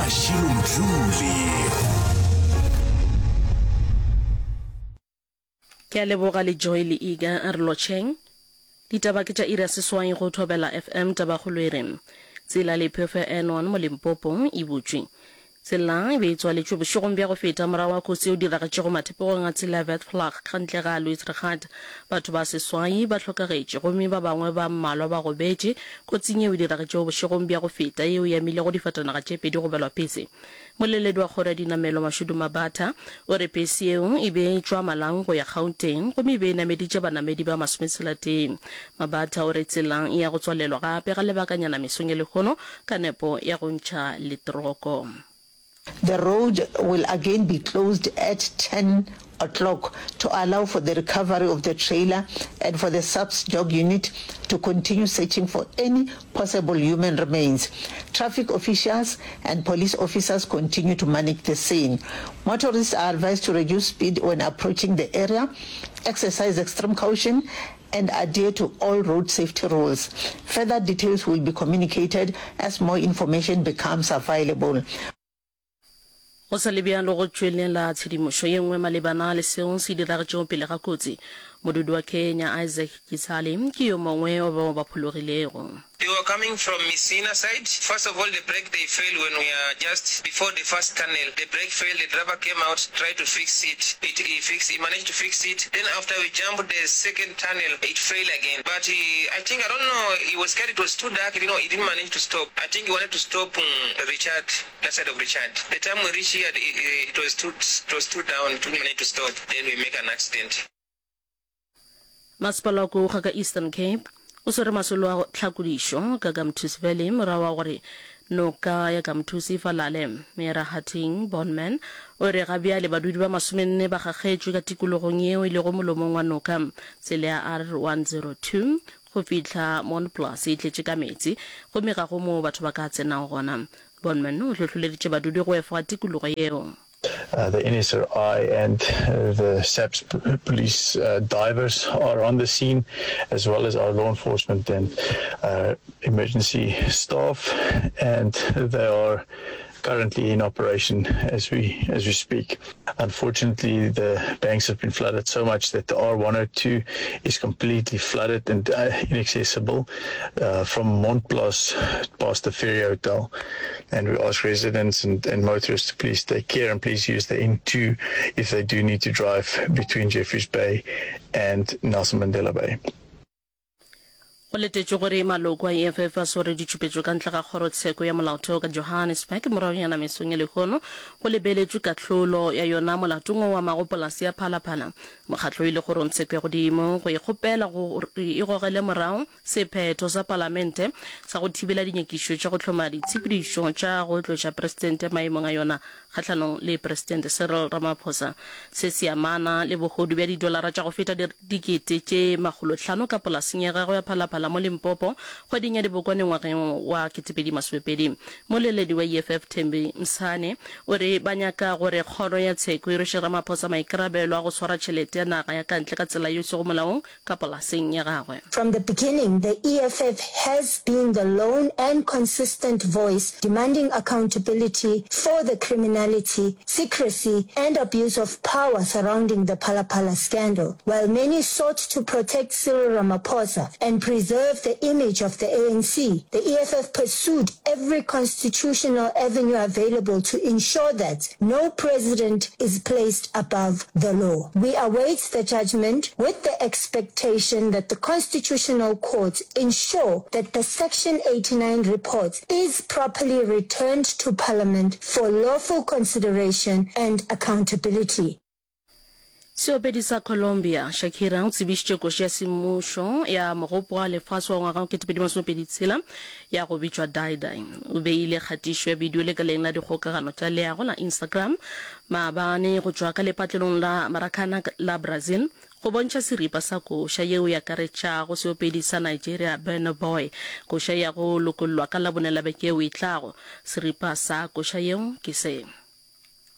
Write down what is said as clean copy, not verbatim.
Mashilo Mdluli. Ke a leboga le Joy le Iga a re lotšheng. Ditaba ke tša iri ya seswai go Thobela FM Tabakgolo e re, Tsela le phefo ya N1 mo Limpopo e butšwe. Tsela e be e tswaletšwe bošegong bja go feta morago ga kotsi yeo diragetšego mathepegong a tsela ya Vetvlak ka ntle ga Louis Trichardt. Batho ba seswai ba hlokagetše gomme ba bangwe ba mmalwa ba gobetše kotsing yeo e diragetšego bošegong bja go feta yeo e amilego difatanaga tše pedi go belwa pese. Moleledi wa kgoro ya dinamelo Mashudu Mabatha o re pese yeo e be e tšwa Malang go ya Gauteng gomme e be e nameditše banamedi ba masometshelatee. Mabatha o re tsela e ya go tswalelwa gape ga lebakanyana mesong ya lehono ka nepo ya go ntšha letroko. The road will again be closed at 10 o'clock to allow for the recovery of the trailer and for the SAPS dog unit to continue searching for any possible human remains. Traffic officials and police officers continue to manage the scene. Motorists are advised to reduce speed when approaching the area, exercise extreme caution and adhere to all road safety rules. Further details will be communicated as more information becomes available. Go sa le bjalo, go tšwelela tshedimošo ye nngwe malebana le seo se diragetšego pele ga kotsi. Modudi wa Kenya, Isaac Kitsale, ke yo mongwe wa bao ba phologilego. They were coming from Messina side, first of all the brake they fail when we are just before the first tunnel, the brake fail, the driver came out try to fix it, it he fix he managed to fix it, then after we jump the second tunnel it fail again, but he I think I don't know he was scared it was too dark he didn't he didn't manage to stop, I think he wanted to stop Richard that side of Richard, the time we reach here it, it was too it was too down, it didn't manage to stop, then we make an accident. Masepala wa Kouga ka Eastern Cape o swere masolo a tlhakodišo ka Gamthusi Valley morago ga gore noka ya Gamthusi e falale. Meyara Hattingh Bornman o re ga bjale badudi ba masomenne ba gakgetšwe ka tikologong yeo e lego molomong wa noka. Tsela ya R102 go fihla Montplaas e tletše ka meetse gomme ga go moo batho ba ka tsenago gona. Bornman o hlohloleditše badudi go efoga tikologo yeo. The NSRI and the SAPS police divers are on the scene, as well as our law enforcement and emergency staff, and they are currently in operation as we as we speak. Unfortunately, the banks have been flooded so much that the R102 is completely flooded and inaccessible from Montplaas past the Ferry Hotel. And we ask residents and, and motorists to please take care and please use the N2 if they do need to drive between Jeffreys Bay and Nelson Mandela Bay. Go letetšwe gore maloko a EFF a sware ditšhupetšo ka ntle ga kgorotsheko ya molaotheo ka Johannesburg moragonyana mesong ya lehono go lebeletšwe kahlolo ya yona molatong o amago polase ya Phalaphala. Mokgatlo o ile kgorongtsheko ya godimo go e kgopela gore e gogele morago sephetho sa palamente sa go thibela dinyakišo tša go hloma ditshepedišo tša go tloša presidente maemong a yona kgahlanong le Presidente Cyril Ramaphosa. Se se amana le bohodu bja didolara tša go feta dikete tše makgolohlano ka polaseng ya gagwe ya Phalaphala mo Limpopo kgweding ya Dibokwane ngwageng wa 2020. Moleledi wa EFF Thembi Msane o re ba nyaka gore kgoro ya tsheko e rweše Ramaphosa maikarabelo a go swara tšhelete ya naga ya ka ntle ka tsela yeo e sego molaong ka polaseng ya gagwe. From the beginning, the EFF has been the lone and consistent voice demanding accountability for the criminality, secrecy and abuse of power surrounding the Phala Phala scandal. While many sought to protect Cyril Ramaphosa and preserve the image of the ANC, the EFF pursued every constitutional avenue available to ensure that no president is placed above the law. We await the judgment with the expectation that the Constitutional Court ensure that the Section 89 report is properly returned to Parliament for lawful consideration and accountability. Seopedi sa Colombia, Shakira, o tsebišitše koši ya semmušo ya Mogopo wa Lefase wa ngwaga wa 2026 ya go bitšwa Dai Dai. O beile kgatišo ya bidio lekaleng la dikgokagano tša leago la Instagram maabane go tšwa ka lepatlelong la Maracana la Brazil go bontšha seripa sa koša yeo e akaretšago seopedi sa Nigeria Burna Boy. Koša ya go lokollwa ka Labone la beke yeo e tlago. Seripa sa koša yeo ke se.